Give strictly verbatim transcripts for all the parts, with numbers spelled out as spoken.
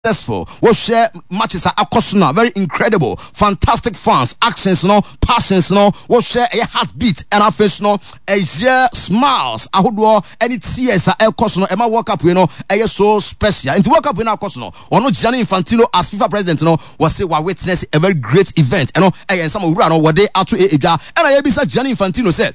Successful. Wɔhwɛ matches a akɔ so no, very incredible, fantastic fans, actions no, passions no, wɔhwɛ ɛyɛ heartbeat, ɛna afei so no ɛyɛ smiles ahodoɔ ɛne tears a ɛkɔ so no, ɛma World Cup yi no ɛyɛ so special. Nti World Cup yi no akɔ so no, ɔno Gianni Infantino as FIFA president no, wɔse wa witness a very great event. Ɛno ɛyɛ nsɛm owura no wɔde ato edwa. Ɛna yɛbisa Gianni Infantino sɛ,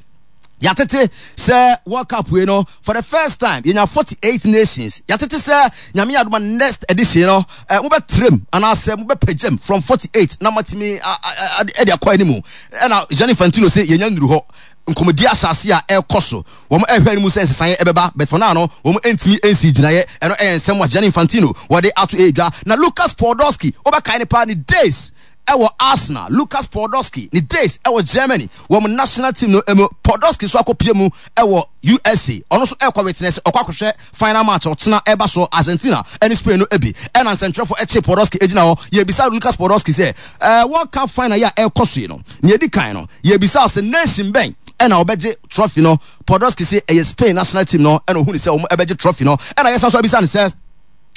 yɛatete sɛ World Cup wei no, for the first time yɛnya forty-eight nations. Yɛatete sɛ Nyame adoma, next edition no eh, mobɛtrɛm anaasɛ mobɛpagyam from forty-eight na matumi ɛde akɔ animu. Ɛna Gianni Infantino sɛ yɛnya nnuru hɔ, nkɔmmɔdi ahyɛ a ɛrekɔ so, wɔn ɛhwɛ anim sɛ nsesaeɛ ɛbɛba, but for now no wɔn ntumi nsi gyinaeɛ. Ɛno ɛyɛ nsɛm a Gianni Infantino wɔde ato edwa. Na Lucas Podolski, wobɛkae ne paa ne days ɛwɔ Arsenal, Lucas Podolski ne days ɛwɔ Germany wɔn national team no emu. Podolski so akɔpie mu ɛwɔ U S A, ɔno nso ɛkɔ witness, ɔkɔ akɔhwɛ final match ɔkyena ɛba so, Argentina ɛne Spain no ebi. Ɛna nsɛntwerɛfo ɛkye Podolski egyina hɔ, yɛbisa Lucas Podolski sɛ ɛɛ World Cup final yi a ɛkɔ so yi no, nea edi kan no yɛbisa sɛ nation bɛn ɛna ɔbɛgye trophy no? Podolski sɛ ɛyɛ Spain national team no ɛna ohun sɛ wɔn ɛbɛgye trophy no. Ɛna yɛsan so abisa no sɛ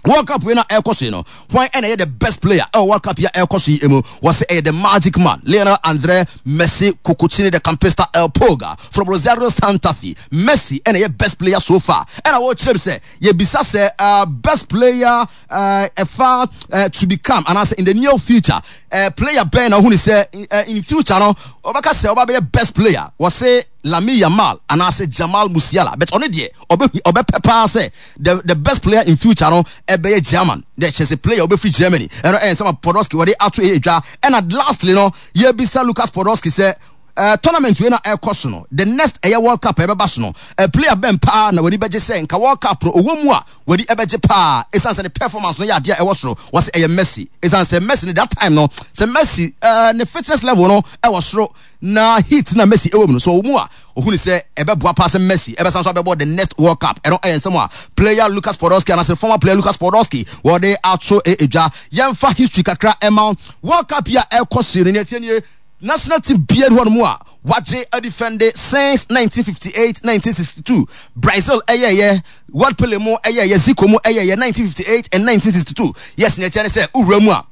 World Cup wei na ɛkɔ so yi no, hwan ɛna ɛyɛ the best player ɛwɔ World Cup yi a ɛkɔ so yi mu? Wɔsɛ ɛyɛ the magic man, Lionel Andre Messi Cuccittini, the Campista, El Pulga from Rosario Santa Fe. Messi ɛna ɛyɛ best player so far. Ɛna wɔkyerɛ mu sɛ yɛbisa sɛ uh, best player uh, ɛfa uh, to become anaasɛ in the near future, uh, player bɛn na ohun sɛ uh, in future no ɔbɛka sɛ ɔba bɛyɛ best player? Wɔsɛ Lamine Yamal anaasɛ Jamal Musiala, but ɔno deɛ ɔbɛ ɔbɛpɛ paa sɛ the the best player in future no ɛbɛyɛ German de kyerɛ sɛ player ɔbɛfiri Germany. Ɛno ɛyɛ nsɛm a Podolski wɔde ato ɛyɛ dwa. Ɛna lastly no yɛbisa Lucas Podolski sɛ uh, tournament wei na ɛkɔ so no, the next ɛyɛ World Cup ɛbɛba so no, uh, player bɛn paa na wɔde bɛgye sɛ nka World Cup no ɔwɔ mu a wɔde ɛbɛgye paa, ɛsiane sɛ ne performance no yɛ adeɛ a ɛwɔ soro? Wɔsɛ ɛyɛ Messi, ɛsiane sɛ Messi no that time no, sɛ Messi uh, ne fitness level no ɛwɔ soro na heat na Messi ɛwɔ mu no so ɔwɔ mu a, ohun sɛ ɛbɛboa paa sɛ Messi ɛbɛsan so abɛbɔ the next World Cup. Ɛno ɛyɛ nsɛm a player Lucas Podolski anaasɛ former player Lucas Podolski wɔde ato edwa. Yɛmfa history kakra ɛma World Cup yi a ɛkɔ so no. Ne ɛtie nie, national team biara hɔ nom a wagye adefend since nineteen fifty-eight, nineteen sixty-two. Brazil ɛyɛyɛ, World Pele mu ɛyɛyɛ, Zico mu ɛyɛyɛ nineteen fifty-eight and nineteen sixty-two. Yes, ne ɛtiɛ ne sɛ wowura mu a,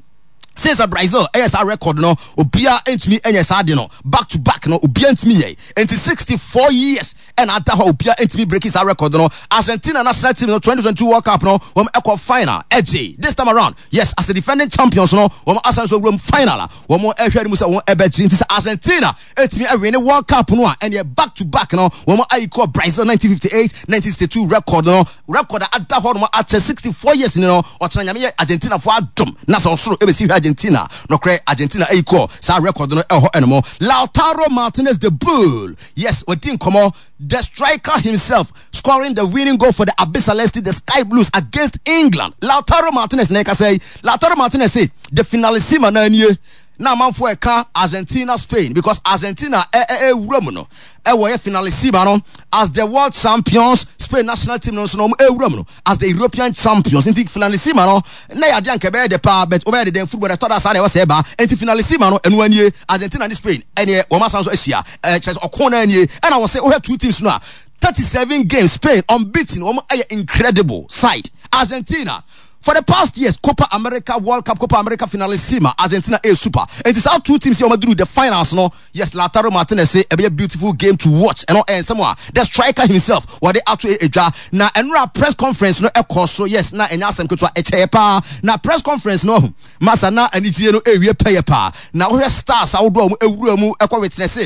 since a Brazil ɛyɛ saa record no, obiara ntumi ɛnyɛ saa de no back to back no, obiara ntumi yɛ. Nti sixty-four years ɛna ada hɔ, obiara ntumi break saa record no. Argentina national team no, twenty twenty-two World Cup no, wɔn ɛkɔ final ɛgye. This time around, yes, as a defending champions no, wɔn asan so wuram final a wɔn ɛhwɛ no mu sɛ wɔn ɛbɛgye. Nti sɛ Argentina ɛtumi ɛwin World Cup no a, ɛneɛ back to back no wɔn ayi kɔ Brazil nineteen fifty-eight, nineteen sixty-two record no, record a ada hɔ nom akyɛ sixty-four years ni no. Ɔkyerɛ Nyame yɛ Argentina fo adom na sɛ ɔsoro ɛbɛsi hwɛ Argentina nɔkorɛ, Argentina ayi kɔ saa record no ɛwɔ hɔ ɛnom. Lautaro Martinez, the Bull, yes, wɔdi nkɔmmɔ, the striker himself scoring the winning goal for the Albiceleste, the Sky Blues, against England. Lautaro Martinez na ɛkasa yi. Lautaro Martinez say the finalissima na nie na amanfoɔ ɛka Argentina, Spain, because Argentina ɛwura mu no ɛwɔ yɛ finalissima no as the world champions, Spain national team no nso na wɔn ɛwura mu no as the European champions. Nti finalissima no na yɛ adeɛ anka ɛbɛyɛ de paa, but ɔbɛyɛ de den football ɛtɔ da saa na ɛwɔ sɛ ɛba. Nti finalissima no ɛno anie, Argentina ne Spain ɛneɛ wɔn asan so ahyia, ɛɛ kyerɛ sɛ ɔko na anie. Ɛna wɔsɛ wohwɛ two teams no a, thirty-seven games Spain unbeaten, wɔn ɛyɛ incredible side. Argentina for the past years, Copa America, World Cup, Copa America finalissima, Argentina a super. Nti saa two teams here wɔn aduru the finals no, yes, Lautaro Martinez say ɛbɛyɛ beautiful game to watch. Ɛno ɛyɛ nsɛm a the striker himself wɔde ato edwa. Na ɛnura press conference no ɛkɔ so, yes, na ɛnyɛ asɛm ketewa, ɛkyɛyɛ paa. Na press conference no masa na anigye no ewie pɛyɛ paa. Na wɔhwɛ stars ahodoɔ a wɔn ewura mu ɛkɔ witness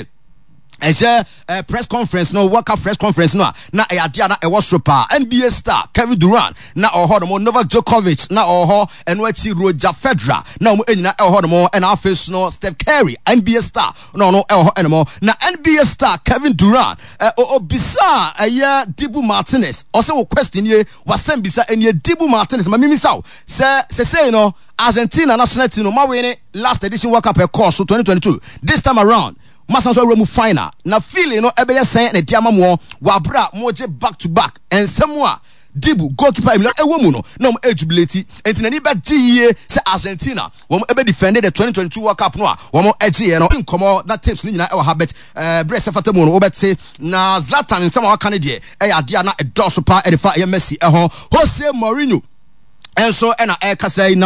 ɛhyɛ uh, press conference no, World Cup press conference no a, na ɛyɛ adeɛ a na ɛwɔ soro paa. N B A star Kevin Durant na ɔwɔ hɔ nom, Novak Djokovic na ɔwɔ hɔ, ɛno akyi Roger Federer na wɔn nyinaa ɛwɔ hɔ nom, ɛna afei so no Steph Curry, N B A star, na ɔno ɛwɔ hɔ ɛnom. Na N B A star Kevin Durant ɛ obisa ɛyɛ Dibu Martinez, ɔsɛ wɔ question nie, wasɛm bisa ɛnie: "Dibu Martinez, ma mimisa wo sɛ sɛsɛyi no Argentina national team no ma win last edition World Cup ɛkɔɔ so twenty twenty-two, this time around masan so awura mu final, na feeling no ɛbɛyɛ sɛn na ɛde ama mo wɔ abere a mogye back to back?" Nsɛm a Dibu goalkeeper Emiliano ɛwɔ mu no na wɔn ɛjubilate, nti n'ani bɛgye yie sɛ Argentina wɔn ɛbɛ defend the twenty twenty-two World Cup no a wɔn ɛgye yɛ no. Nkɔmɔ na tips ne nyinaa ɛwɔ ha, bet ɛɛ berɛ sɛ fata mu no wɔbɛte. Na Zlatan nsɛm a waka no deɛ ɛyɛ adeɛ a na ɛdɔɔso paa ɛde fa ɛyɛ Messi ɛho. Jose Mourinho ɛnso ɛna ɛrekasa yi na